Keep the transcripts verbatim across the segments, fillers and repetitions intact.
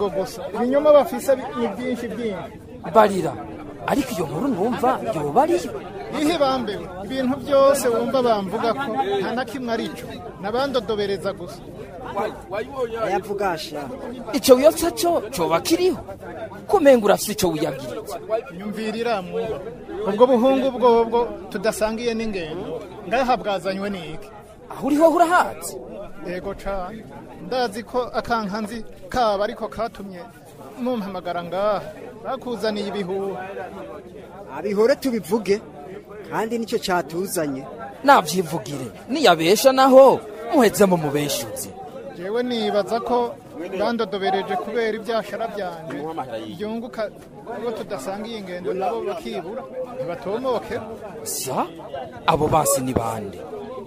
Ubwo gusa ibinyoma bafise ni byinshi byinshi. Barira, ariko iyo nkuru numva yoba ariyo. Ihe bambewe, ibintu byose wumva bamvuga ko nta na kimwe arico, nabandodobereza gusa. Ayavugasha Ico wiyotsa co coba kiriho, kumenga urafise ico wiyagiritse. Nyumvirira mwuba, ubwo buhungu bwobwo tudasangiye n'ingendo ngaha bwazanywe n'iki? Aho uriho urahazi? Yego cane, ndazi ko akankanzi kaba ariko katumye mumpamagara ngaha, bakuzaniye ibihuha. Abihore tubivuge, kandi nicyo cyatuzanye. Navyivugire, niyabesha naho muheze mu mubeshuzi. Jewe nibaza ko bandodobereje kubera ibyashara byanje byunguka, ubwo tudasangiye ingendo nabo bakibura ntibatomoke. Sa abo basi ni bande?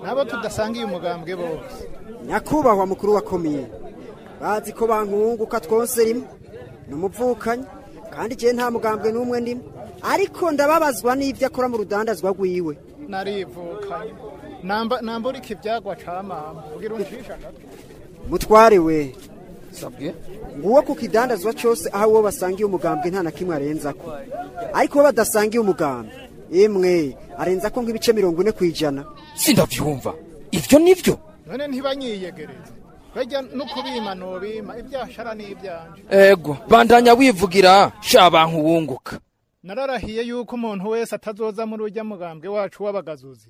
Nabo tudasangiye umugambwe bose. Nyakubahwa mukuru wa komine, bazi ko bankunguka twose rimwe ni umuvukanyi, kandi jewe nta mugambwe n'umwe ndimo, ariko ndababazwa n'ibyo akora mu rudandazwa rwiwe. Narivukanye namba namburika ibyagwa ca mama kugira uncisha agatwe. Mutware we. Sabwe. Nguwo ku kidandazwa cyose aho uwo basangiye umugambwe nta na kimwe arenzako, ariko uwo badasangiye umugambwe imwe arenzako nk'ibice mirongo ine kwijana. Sindavyumva, ivyo nivyo? None ntibanyiyegereze, bajya no kubima nobima ibyashara n'ibyanje. Ego, bandanya wivugira sha bantu wunguka. Nararahiye yuko umuntu wese atazoza muri urya mugambwe wacu w'abagazuzi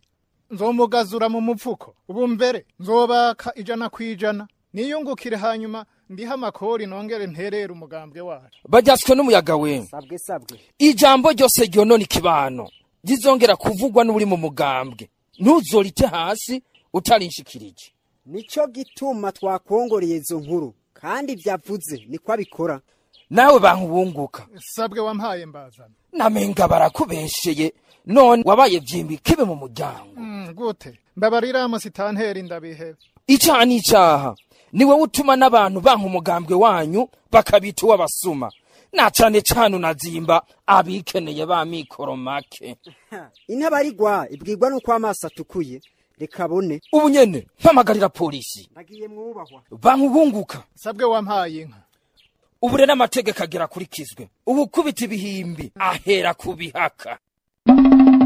nzomugazura mu mupfuko. Ubu mbere nzobaka ijana kwijana niyungukire, hanyuma ndiha amakori nongere nterere umugambwe wacu. Bajyatswe n'umuyaga we. Sabwe sabwe. Ijambo ryose ryonona ikibano rizongera kuvugwa n'uri mu mugambwe, ntuzorite hasi utarinshikirije. Nico gituma twakongoreye izo nkuru, kandi byavuze niko abikora. Nawe bantu wunguka. Sabwe wampaye mbazana. Namenga barakubesheye, none wabaye vyimbi kibe mu muryango. Mm, gute mbabarira musitanteri ndabihebe. Icaha n'icaha ni wowe utuma n'abantu banka umugambwe wanyu bakabita uw'abasuma, na cane cane unazimba abikeneye ba mikoro make. Intabarigwa ibwirwa nuko amaso atukuye, reka abone. Ubu nyene mpamagarira polisi. Ndagiye mwubahwa. Bantu wunguka. Sabwe wampaye inka. Ubu rero amategeko agera akurikizwe, ubu kubita ibihimbi ahera kubihaka.